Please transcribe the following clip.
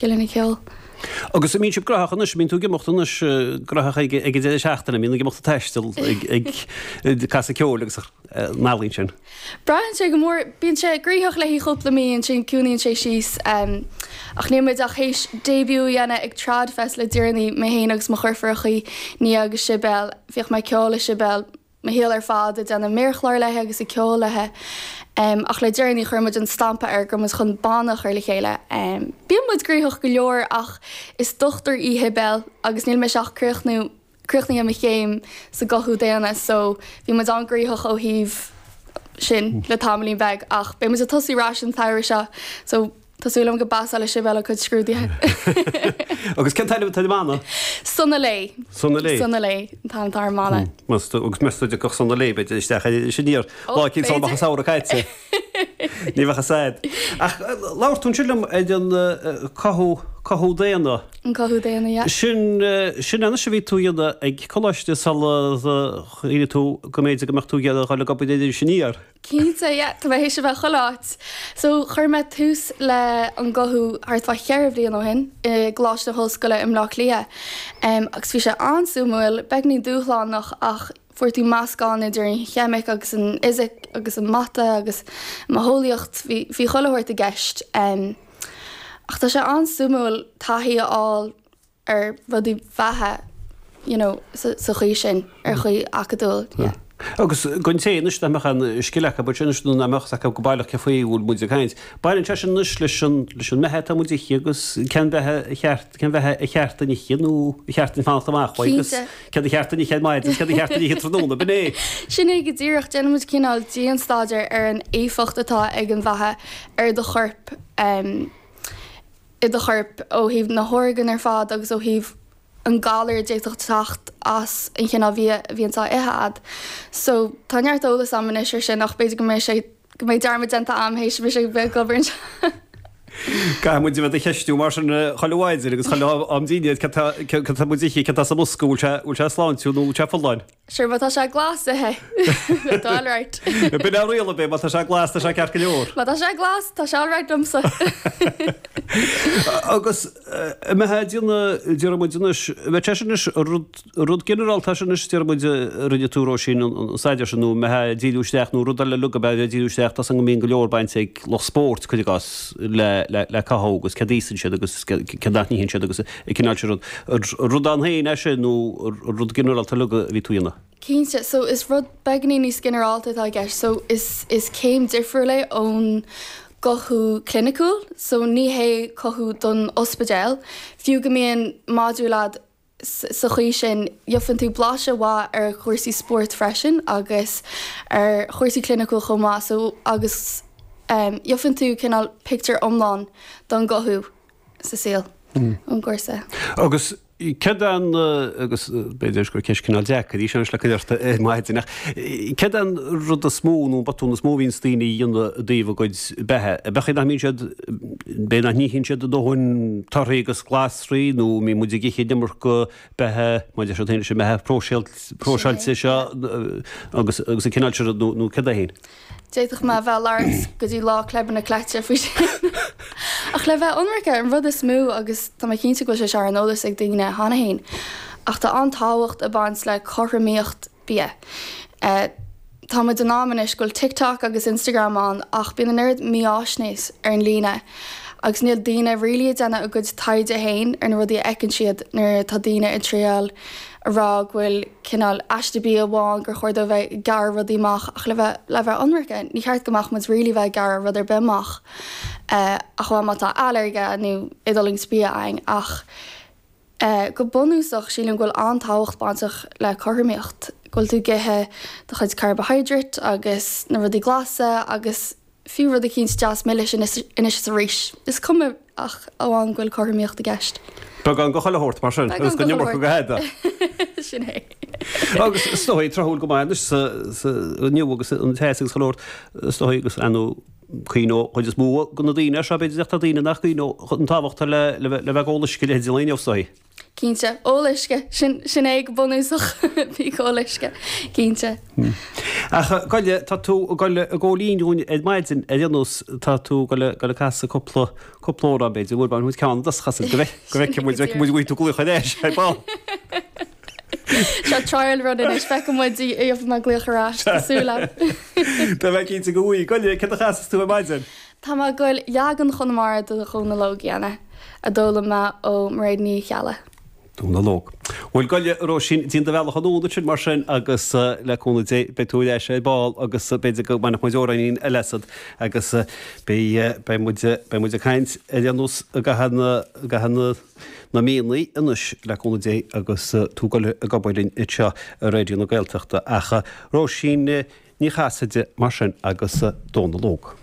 Scileanna ceoil. Agus an mbíonn sibh graitheach anois, an mbíonn tú ag imeacht anois graitheach ag an deireadh seachtaine, an mbíonn ag imeacht ag taisteal ag casadh ceoil agus an ealaín sin? Braitheann sé go mór, bíonn sé gnoitheach le haghaidh chúpla mí, ansin ciúnaíonn sé síos. Ach níl muid ach théis debut a dhéanamh ag Tradfest le deireanaí, mé féin agus mo dheirfiúrachaí, Nia agus Sibéal. Bhíodh mé ag ceol le Sibéal. mo shaol ar fad ag déanamh méarchlár léi agus ag ceol léi. Ach le deireanaí chuir muid an stampa air go raibh muid chun banna a chur le chéile. Bíonn muid gnoitheach go leor ach is dochtúir í Sibéal agus níl mise ach críochnú críochnaithe mo chéim sa gcothú daonna so bhí muid an-gnoitheach ó thaobh sin le tamaillín beag ach beidh muid ag tosú ar ais an tsamhradh seo so Tá súil agam go bpasálfaidh Sibéal a cuid scrúduithe. Agus cén t-ainm atá ar an mbanna? Sona Lé. Sona Lé. Sona Lé an t-ainm atá ar an mbanna. Meas tú, agus meas tú an dtiocfadh Sona Lé, b'fhéidir, isteach ar Iris Aniar lá eicínt sula mbeadh an samhradh caite. Ní bheadh fhios a'd. Ach labhair tú ansin liom ar an cothú, cothú daonna. An cothú daonna, yeah. Sin, sin anois a bhí tú a dhéanamh ag coláiste sula chuimhnigh tú go mb'fhéidir go mbeadh tú ag iarraidh a dhul ag obair ar Iris Aniar. Cinnte, yeah, tá mé théis a bheith chuile áit. So, chuir mé tús le an gcothú thart fá cheithre bhliain ó shin i gColáiste na hOllscoile i mBleá Cliath. Em, agus bhí sé an-suimiúil, beagnín dúshlánach ach fuair tú meascán idir an cheimic agus an fhisic agus an mata agus an mhodheolaíocht, bhí, bhí chuile shórt i gceist. Em, ach tá sé an-suimiúil taithí a fháil ar rudaí beatha you know sa chaoi sin, ar chaoi acadúil, yeah. Agus don té anois nach mbeadh aon scil acu ansin anois nó nach mbeadh fhios acu go baileach cé faoi a bhfuil muid ag caint, baineann sé sin anois leis an, leis an mbeatha atá muid a ithe agus cén bheatha a cheart, cén bheatha a cheart dúinn ithe nó a cheart dúinn fanacht amach uaidh agus céard a cheart dúinn ithe ar maidin agus céard a cheart dúinn ithe tráthnóna, b'in é. Sin é go díreach, déanann muid cineál dianstaidéar ar an éifeacht atá ag an bheatha ar do chorp. i do chorp ó thaobh na horgáin ar fad agus ó thaobh an galar a d'fhéadfadh teacht as an chineál bhia a bhíonns á ithe a'd. So tá neart eolas a'm anois ar sin ach b'fhéidir go mbeidh sé, go mbeidh dearmad déanta a'm théis mise a bheith ag obair anseo. Caithfidh muid a bheith do cheistiú mar sin chuile mhaidin agus chuile am dinnéir cad tá, cad tá muid a ithe, cad tá sa mbosca, bhfuil sé, bhfuil sé sláintiúil nó bhfuil sé folláin? Sure, má tá sé glas, ith é. Beidh tú alright. B'in an riail ab é, má tá sé glas, tá sé ceart go leor. Má tá sé glas, tá sé alright liomsa. Agus an mbeifeá ag déanamh, déarfaidh muid anois, an mbeadh sé sin anois rud, rud ginearálta sin anois, déarfaidh muid, a rinne tú Róisín, an staidéar sin, nó an mbeifeá ag díriú isteach, nó rud eile uilig ab ea a bheith ag díriú isteach, tá 's agam go mbíonn go leor bainte ag lucht spóirt, cuir i gcás, le, le, le cothú agus céard a íosann siad agus céard nach n-itheann siad agus an cineál sin rud. Rud ann féin é sin nó rud ginearálta uilig a bhí tú a dhéanamh? Cinnte, so is rud beagáinín níos ginearálta atá i gceist. So is is céim difriúil é ón gcothú cliniciúil. So ní hé cothú don ospidéal. Fiú go mbíonn modúl a'd sa chaoi sin, gheobhann tú blaiseadh mhaith ar chúrsaí spóirt freisin agus ar chúrsaí cliniciúil chomh maith. So agus gheobhann tú cineál pictiúr iomlán don gcothú. sa saol ón gcúrsa. Agus céard é an, agus b'fhéidir gur ceist cineál deacair í seo anois le cur ort ar maidin, ach céard é an rud is mó nó an botún is mó a bhíonns daoine a dhéanamh i dtaobh a gcuid beatha? Ab é nach mbíonn siad, b'é nach n-itheann siad a ndóthain torthaí agus glasraí nó an mbíonn muid ag ithe an iomarca beatha, mar a deir siad féin leis an mbeatha próiseáilte seo agus agus an cineál sin rud nó nó céard é féin? D'fhéadfadh mé a bheith ag labhairt go dtí lá claibine cleite faoi sin. Ach le bheith ionraice, an rud is mó, agus tá mé cinnte go bhfuil sé seo ar an eolas ag daoine cheana féin, ach tá an-tábhacht ag baint le cothromaíocht bia. Tá muid in am anois go bhfuil TikTok agus Instagram ann ach bíonn an oiread mífháisnéis ar an líne agus níl daoine really ag déanamh a gcuid taighde féin ar na rudaí a fheiceann siad nuair atá daoine ag triail a rá go bhfuil cineál aiste bia amháin gur chóir dóibh bheith ag gearradh rudaí amach ach le bheith le bheith ionraice ní cheart go mbeadh muid really bheith ag gearradh rud ar bith amach ach amháin má tá ailléirge nó éadulaingt bia againn ach go bunúsach sílim go bhfuil an-tábhacht bainteach le cothromaíocht, go bhfuil tú ag ithe do chuid carbohydrate agus na rudaí glasa agus fiú rud eicínt deas milis anois is arís. Is cuma ach amháin go bhfuil cothromaíocht i gceist. Beagán de chuile shórt mar sin, agus an iomarca go hada. Sin é. Agus is dóigh, tráthúil go maith anois sa, sa, inniu agus an teas agus chuile shórt, is dóigh agus ar ndóigh. Cuimhneoidh an chuid is mó de na daoine air seo, b'fhéidir, ach tá daoine nach gcuimhneoidh an tábhacht atá le bheith ag ól uisce leithéid an lae inniu, is dóigh. Cinnte. Ól uisce. Sin, sin é go bunúsach. Bí ag ól uisce. Cinnte. Ach goile, tá tú ag goil ag gabháil fhoinn dhúinn ar maidin ar aon nós, tá tú ag goil, goil ag casadh cúpla, cúpla amhrán b'fhéidir, bhuel bainfidh muid ceann dos chasadh go bhfeicfidh, go bhfeicfidh muid, bhfeicfidh muid an bhfaighidh tú glaoch ar ais ar ball. Seo trial run anois, feicfidh muid an bhfaighidh mé glaoch ar ais, tá súil agam. Tá mé cinnte go bhfaighidh. Goile, céard a chasfas tú ar maidin? Tá mé ag goil leagan Chonamara de Dhónal Óg a dhéanamh, a d'fhoghlaim mé ó Mairéad Ní Cheallaigh. Dónal Óg. Bhuel, goile, a Róisín, déan do bhealach anonn ansin mar sin agus le cúnamh Dé beidh tú ar ais ar ball agus b'fhéidir go mbainfeadh muid amhráinín eile asat agus beidh, beidh muid, beidh muid ag caint ar aon nós i gcaitheamh na, i gcaitheamh na, na míonna anois le cúnamh Dé agus tú ag goil ag obair linn anseo i Raidió na Gaeltachta. Ach Róisín Ní Chasaide mar sin agus Dónal Óg.